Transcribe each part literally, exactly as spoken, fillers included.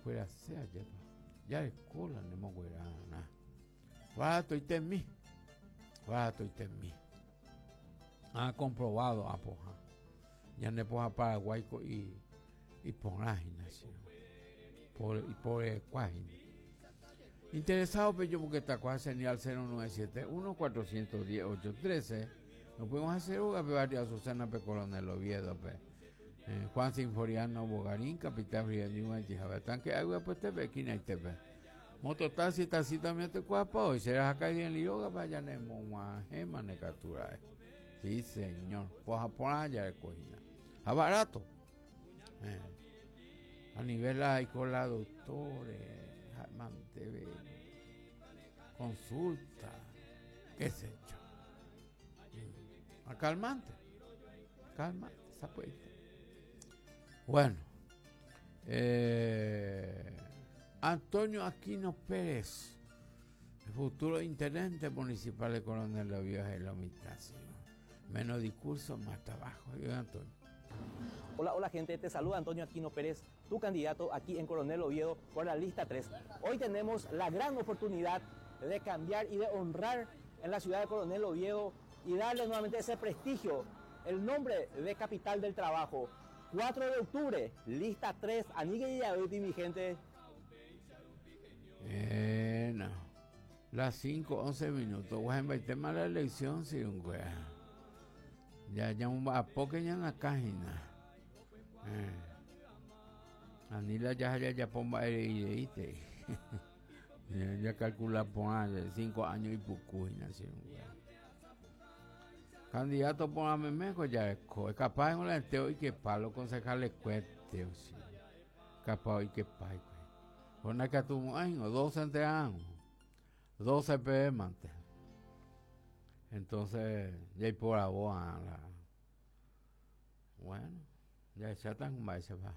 Sea lleva. Ya escuela ne moguerana. Barato y temí. Barato y temí. Ha comprobado a poja. Ya ne poja Paraguay y y porajina, por y por cuajina. Interesado pe yo porque está cuál señal cero nueve siete uno cuatrocientos diez ocho trece. Nos podemos hacer una pe barrio Azucena pe Coronel Oviedo pe. Eh, Juan Sinforiano Bogarín, Capital Río Ñuñoa, Tanque Agua pues te ve esquina y te ve. Mototaxi, taxi también te cuapa hoy será acá en Liroga vaya nemo gema ne captura. Sí, señor. Poja por allá de cocina. A barato. Eh. A nivel hay con la doctores, manteve, consulta, qué sé yo. A calmante, calmante, esa puerta. Bueno, eh, Antonio Aquino Pérez, el futuro intendente municipal de Coronel Oviedo, es la mitad, señor. Menos discurso, más trabajo. Yo, Antonio. Hola, hola gente, te saluda Antonio Aquino Pérez, tu candidato aquí en Coronel Oviedo por la lista tres. Hoy tenemos la gran oportunidad de cambiar y de honrar en la ciudad de Coronel Oviedo y darle nuevamente ese prestigio, el nombre de capital del trabajo. cuatro de octubre, lista tres, Anigue y Yaduti, mi gente. Eh, no. Las cinco, once minutos. Bueno, el tema de la elección, sí, un güey. Ya, ya un a poco ya en la página. Eh. Anila ya, ya, ya pomba el I T. Ya, ya calcula por cinco años y poco, y nació un güey. Candidato por la memeco ya es capaz en un lenteo y que palo concejales cueste, o sí. Capaz y que palo. Con la que tuvo años, doce entre años, doce P M antes. Entonces, ya hay por la boa, la... Bueno, ya ya están con ese va.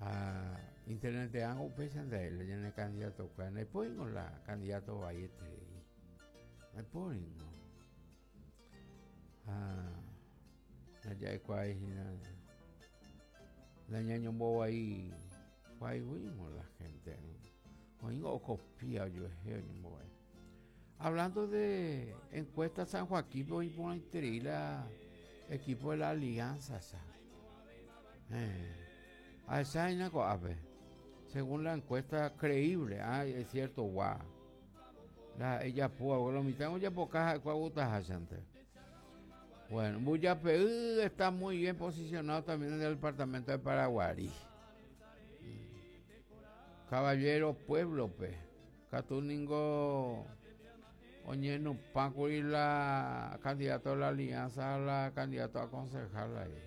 Ah, internet de algo pesan de él, ya no es candidato, no hay por la candidato Vallete. No hay por no. Ah, ya hay cuál, la ñaño bobo ahí, cuál fuimos la gente. Oigo copia yo yo voy. Hablando de encuesta San Joaquín, voy por la equipo de la Alianza. Eh, a esa hay una cosa, según la encuesta creíble, ah, es cierto, guau. La, ella pudo, lo mitad ya poca, cuál gusta antes. Bueno, Mbuyapey está muy bien posicionado también en el departamento de Paraguarí. Caballero Pueblo, pe. Catuningo Oñeno Paco y la candidato de la Alianza, la candidato a concejal ahí.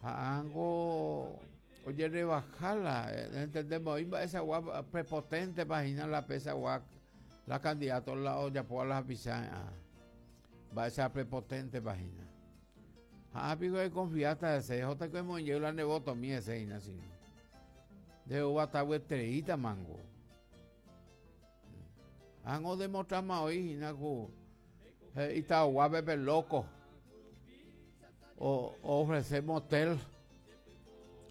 Ango, oye, rebajala, entendemos, esa guapa prepotente, página la pesa guapa, la candidato la olla por las pisadas. Va esa prepotente página. Ah, pico de confianza de C J que hemos llegado la nebotomía ese así. De uva mango. Ango demostramos hoy, inacu. Y está guape loco. O, o ofrecer motel,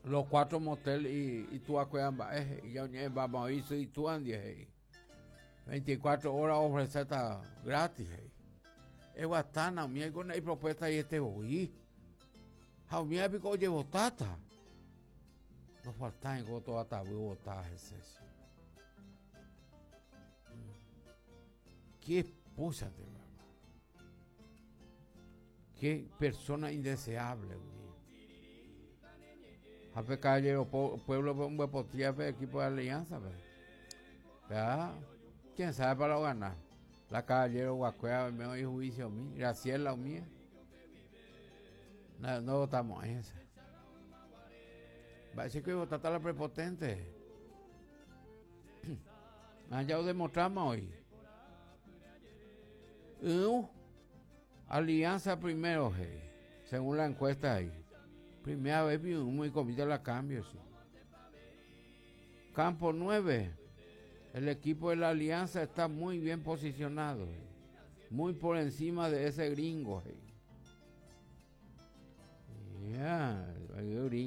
los cuatro motel y, y tú acuerdas, eh, y ya vamos a ir y tú andes, veinticuatro horas ofrecer está gratis. Eh. Es bastante, mía con la propuesta y este voy. Jaumía pico llevo tata. No falta en goto hasta voy a ese. Qué esposa de mamá. Qué persona indeseable, güey. Jape caballero, pueblo, un buen potía, equipo de alianza, pues. ¿Verdad? ¿Quién sabe para lo ganar? La caballero Guacuea, me oí juicio mí, Graciela mía. No, no votamos esa. Va a decir que votaste a la prepotente. Ah, ya lo demostramos hoy. Uh, alianza primero, hey, según la encuesta ahí. Primera vez vi un muy comida la cambio, sí. Campo nueve. El equipo de la Alianza está muy bien posicionado, hey. Muy por encima de ese gringo. Hey. Yeah, el gringo.